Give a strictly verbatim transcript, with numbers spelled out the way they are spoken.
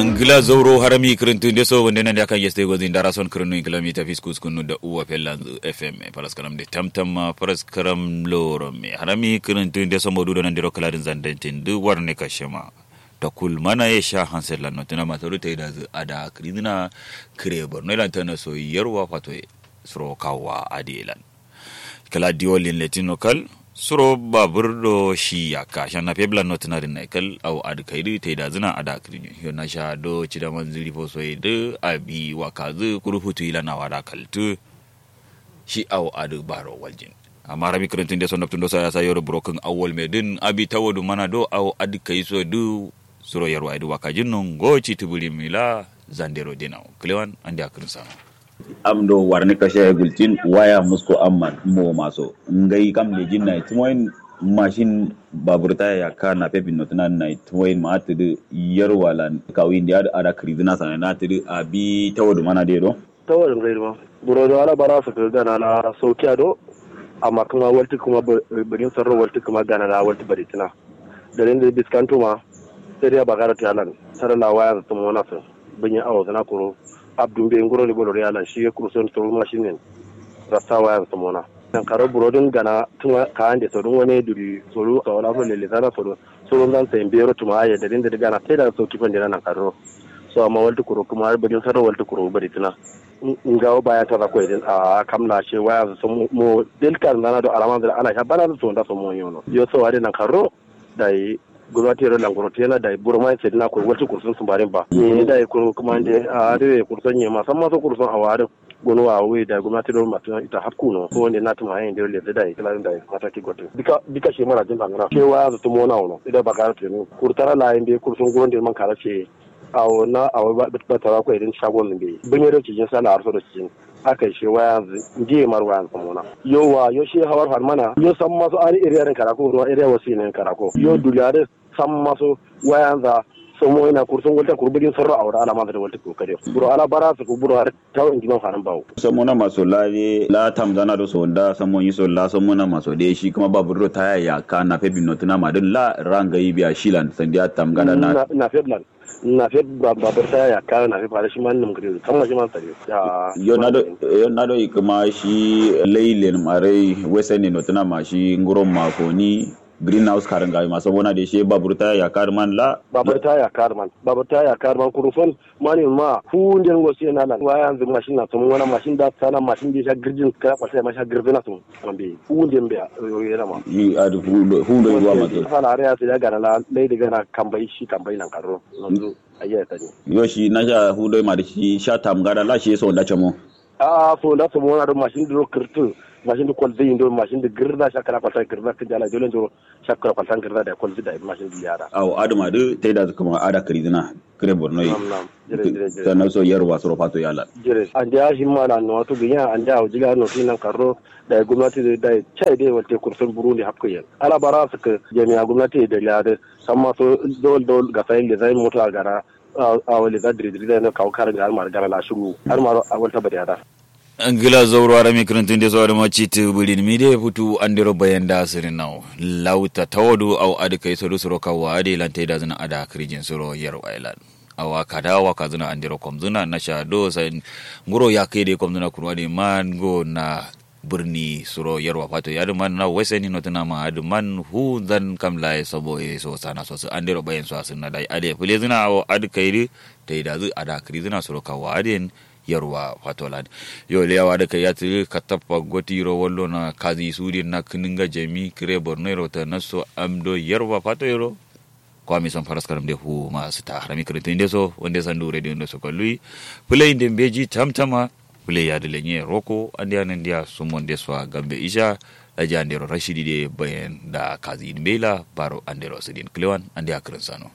Ngla zauro harami kǝrǝntǝ nde so wande nande akan yeste gozin dara son kǝrǝnnu inkǝla mita fiskus kunu da uwa fellanzǝ fm. Faraskaram de tamtam ma faraskaram loro me harami kǝrǝntǝ nde so modu do nandiro kǝladin zandantin dǝ warne kashema. Takul mana ye sha hanset lanno tǝna masaru taidazǝ ada kǝridǝna. Kǝre borno ilan tana so yarwa fatoye suro kawwa adi ilan. Kǝla diwolin letin no kal suro babur do shi yakka shanna feblan no tǝna dǝn nai kal. Au adǝ kaidǝ taidazǝna ada kǝridǝ yo nasha do cidaman zǝri fosoye dǝ abi wakazǝ kuru futu ilan awa da kaltǝ. Shi awo adǝ baro waljin. Amma rami kǝrǝntǝn de so nabtǝn do saya sayo do burokǝn awwal me dǝn abi tawo dǝ mana do awo adǝ kayi so dǝ. Suro yarwa dǝ wakajin no ngo ci tǝbǝri mila zandero dinawo kǝlewan ande akǝrǝn sano. Am do warni kashe gultin waya musko amman mo maso ngai kam lejin na timoyin mashin babur taya yakka na pepin no tana na timoyin ma atǝ dǝ yarwa lan kawin de adǝ ada kǝrizina sana na atǝ dǝ abi tawo dǝ mana de do. Tawarin gaiduma. Buro do ala bara sǝkǝ gana la saukiya do. Amma kǝma waltǝ kǝma bǝrin sarro waltǝ kǝma gana la waltǝ bari tǝna. Dalin dǝ biskantuma. Sai dai bagara tiyalan tara la waya zǝ tǝmo nasǝ. Bǝnyi awo zǝna kuro. Abdun be nguro ni bolo riyalan shi ye kuro son turu mashinin. Rasta waya zǝ tǝmo na. Nankaro buro dǝn gana tǝma ka ande so dǝn wane duri so dǝ so wala so lele sana so dǝ. Soro nzan sai mbero tuma aye dalin dǝ gana tai da sauki fandena nankaro. So amma waltǝ kuro kǝma bǝrin sarro waltǝ kuro bari tǝna. Ngawo baya tara koy din a kam la she waya so mo del kar nana do alama da ana sha bana so nda so mo yono yo so wade nan karro. Dai gulwati ro langoro tena dai buro mai sedna ko walti kursun sumbarin ba ni dai kuro kuma de a de kursun ne ma samma so kursun a wade. Gono wa wai dai gulwati ro ma tuna ita hakku no ko ne na tuma yin de le dai kala dai mataki goto. Bika bika she mara din bangana she waya so mo na wono ida bagara tenu kurtara la yin de kursun gono de man kala she. Awo na awo ba tara ko irin shagon be bunye do cijin sana arso do cijin. Aka she waya ndiye mar waya samona. Yo wa yo she hawar farmana yo samma so ari area din karako ro area wasi ne karako yo dulare samma so waya za. Samo ina kursun walta kurbudin sarro awra ala ma da walta ko kare buro ala bara su buro har tawo indi ma fanan bawo. Samona maso la de la tamzana do so da samon yi so la samona maso de shi kuma babur do taya ya ka na fe bin notuna ma din la ranga yi biya shilan sandiya tamgana na na fe lan. Na fe babur taya ya ka na fe fara shi man num gari kamma shi man sare. Yo na do yo na do kuma shi lailen marai wesen ne notuna ma shi nguron makoni. Green house karin gawi ma samona de shi babur taya ya ka man la babur taya ya ka man babur taya ya ka man kurufan. Mani ma fu nden go sai na lan waya yanzu mashin na samu wani mashin da sana mashin da sha girjin kala kwasa ma sha girjin na samu. Ambe fu nden be yo yana ma yi adu fu ndo fu ndo ruwa ma to sana are ya sai gana la lai da gana kambai shi kambai nan karo. Yanzu ayya tani yo shi na sha fu ndo ma da shi sha tamgada la shi so da chamo. A so da samu wani mashin da kirtu mashin da kwalzai ndo mashin da girza sha kala kwasa girza kin jala dole ndo. Shakkura kwaltan kǝrǝza da kwalzǝ da mashin dǝ yara. Awo adǝma dǝ taida zǝ kǝma ada kǝrizǝna kǝre borno ye. Sannan so yarwa suro fato yala. Jire ande a shi ma na nuwa tu gǝnya ande a wuji ga no tinan karro. Da gomnati dǝ da chai dǝ walte kursun burundi hapkǝ yen ala bara sǝkǝ jami'a gomnati dǝ da liya dǝ. Samma so dol dol ga sai le zai mota gara. Awo le za diri diri da no kawo karǝ ga almar gara la shuru almar awal tabari ada. Ngla zauro arami kǝrǝntǝn de so adǝma citǝ bǝrin mi de futu andero bayan da sǝrin nawo. Lauta tawodu au adǝ kai sodu suro kawo adǝ lan taida zǝna ada kǝrijin suro yarwa ilan. Awa kada awa kazǝna andero komzǝna nasha do sai nguro ya kai de komzǝna kurwa de man go na birni suro yarwa fato ya dǝ man na wai sai ni notuna ma adǝ man hu zan kam laye sabo ye so sana so sǝ andero bayan so asǝn na dai adǝ fule zǝna awo adǝ kai dǝ taida zǝ ada kǝri zǝna suro kawo adǝ yen. Yarwa fatolan yo leyawa da kai yatǝ katappa gotiro wallo na kazi sudin na kǝnǝnga jami kǝre borno yero ta nasso am do yarwa fato yero. Kwami son faraskaram de fu ma sǝta harami kǝrǝntǝ inde so wande sandu radio inde so kalluyi. Fǝlai inde mbeji tamtama fǝlai yadǝ lenye roko ande anandiya sumon de so a gambe isha. Daji andero rashidi de bayan da kazi inde mbeila baro andero sudin kǝlewan ande a kǝrǝnsano.